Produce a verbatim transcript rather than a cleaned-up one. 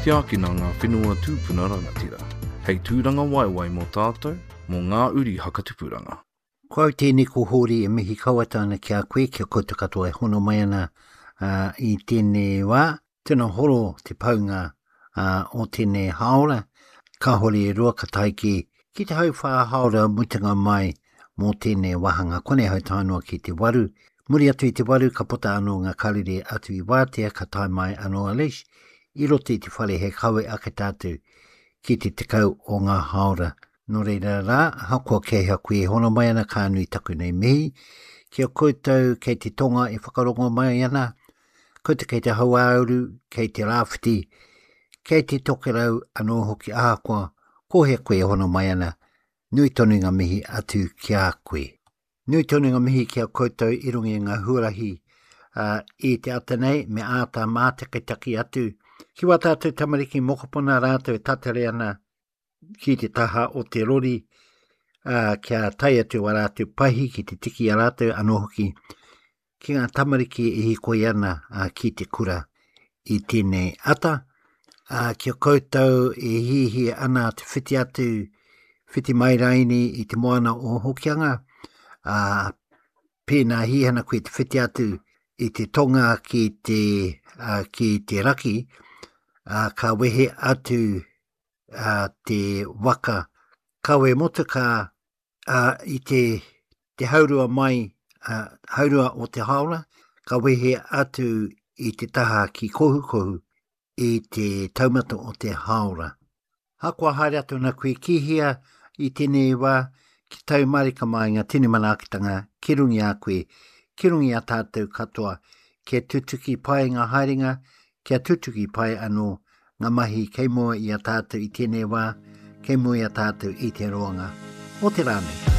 Tiakina ngā whenua tūpuna rangatira. Hei tūranga waiwai mō tātou, mō ngā uri hakatupuranga. Ko au tēnei ko Hōri e mihi kau atu ana ki a koe, kia koutou katoa e hono mai ana uh, i tēnei wā. Tēnā horo te paunga uh, o tēnei haora. Kāhore e roa ka tae ki, ki te hauwhā haora mutunga mai mō tēnei wāhanga. Konei hau tae noa ki te waru. Muri atu i te waru ka puta anō ngā karere atu i wātea ka tae mai anō a Leish i roto i te whare he kawe ake tātou ki te tekau o ngā haora. Nō reira rā, ahakoa kei hea koe e hono mai ana ka nui taku nei mihi. Ki a koutou kei te tonga e whakarongo mai ana, koutou kei te hauāuru, kei te rāwhiti, kei te tokerau anō hoki ahakoa ko hea koe e hono mai ana, nui tonu ngā mihi atu ki a koe. Nui tonu ngā mihi ki a koutou i runga i ngā huarahi uh, i te ata nei me āta mātakitaki atu ki wā tātou tamariki mokopuna rātou e tatari ana ki te taha o te rori uh, kia tae atu wā rātou pahi ki te tiki a rātou anō hoki ki ngā tamariki e hikoi ana uh, ki te kura i tēnei ata. Uh, kia koutou e hihia ana te whiti atu, whiti mai raini i te moana o Hokianga, uh, pēnā hihana koe te whiti atu i te tonga ki te, uh, ki te raki, uh, ka wehe atu uh, te waka kawe motuka uh, i te, te haurua mai, uh, haurua o te haora, ka wehe atu i te taha ki Kohukohu i te taumata o te haora. Hakoa haere atu ana koe ki hea i tēnei wā, ki tau marika mai ngā tini manaakitanga ki runga i a koe, ki runga i a tātou katoa, kia tutuki pai ngā haerenga, kia tutuki pai anō ngā mahi kei mua i a tātou i tēnei wā, kei mua i a tātou i te roanga o te rā nei.